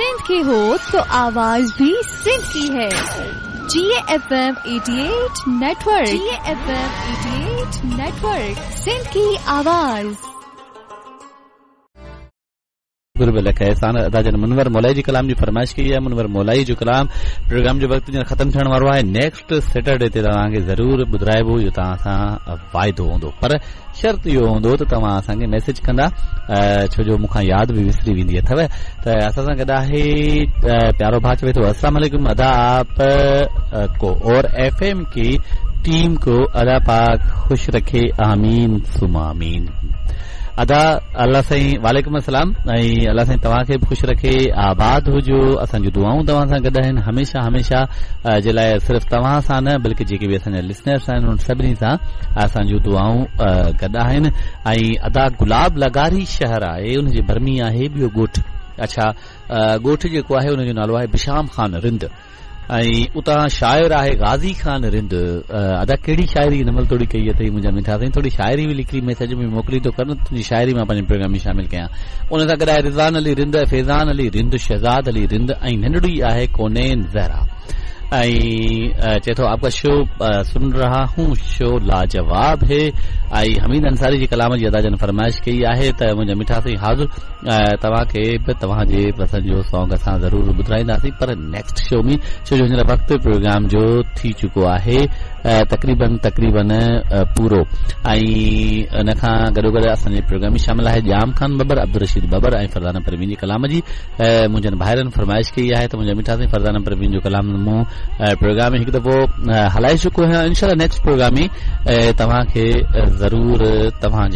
सिंध के हो तो आवाज भी सिंध की है। जी FM 88 network, जी FM 88 network, Sindh की आवाज। गुरब लख एहसान अदा जन मुनवर मौलाई जी कलाम जी फरमाइश कई आहे। मुनवर मौलाई जो कलाम प्रोग्राम जो वक़्तु ॼण ख़तमु थियण वारो आहे। नेक्स्ट सैटरडे ते तव्हांखे ज़रूरु ॿुधाइबो, इहो तव्हां सां वाइदो हूंदो, पर शर्त इहो हूंदो त तव्हां असांखे मैसेज कंदा, छो जो मूंखां यादि बि विसरी वेंदी अथव। त असां सां गॾु आहे प्यारो भाउ, चवे थो अस्सलाम वालेकुम अदा, आप को और एफएम की टीम को अल्लाह पाक खुश रखे, आमीन सुमा आमीन। अदा अल्लाह साईं, वालेकुम अस्सलाम, ऐं अल्लाह साईं तव्हांखे बि ख़ुशि रखे, आबाद हुजो। असांजूं दुआऊं तव्हां सां गॾु आहिनि हमेशा हमेशा जे लाइ, सिर्फ़ तव्हां सां न बल्कि जेके बि असांजा लिसनर्स आहिनि उन्हनि सभिनी सां असांजूं दुआऊं गॾु आहिनि। ऐं अदा गुलाब लगारी शहर आहे, उनजे भर में आहे ॿियो ॻोठ। अच्छा, ॻोठ जेको आहे उनजो नालो आहे बिशाम खान रिंद, ऐं उतां शाइर आहे गाज़ी खान रिंद। अदा कहिड़ी शाइरी हिन महिल थोरी कई अथई मुंहिंजा मिठा साईं, थोरी शाइरी बि लिखी मैसेज में मोकिलींदो कर, तुंहिंजी शाइरी मां पंहिंजे प्रोग्राम में शामिल कयां। उन सां गॾु आहे रिज़वान अली रिंद, फैज़ान अली रिंद, शहज़ाद अली रिंद ऐं नंढड़ी आहे कोनेन ज़हरा। ऐं चए थो आपका शो सुन रहा हूँ, शो लाजवाब है। ऐं हमीद अंसारी जी कलाम जी अदा जन फरमाइश कई आहे त मुंहिंजा मिठा साईं हाज़िर, तव्हांखे बि तव्हांजे पसंदि जो सॉन्ग असां ज़रूरु ॿुधाईंदासीं, पर नेक्स्ट शो में, छो जो हींअर वक़्तु प्रोग्राम जो थी चुको आहे तक़रीबन तक़रीबन पूरो। ऐं इन खां गॾोगॾु असांजे प्रोग्राम में शामिल आहे ॼाम खान बबर, अब्दुल रशीद बबर ऐं फरज़ाना परवीन जी कलाम जी मुंहिंजनि भाइरनि फरमाइश कई आहे त मुंहिंजा मिठा साईं फरज़ाना परवीन जो कलाम मूं प्रोग्राम में हिकु दफ़ो हलाए चुको आहियां। इंशाअल्लाह नेक्स्ट प्रोग्राम में तव्हांखे ज़रूरु तव्हांजे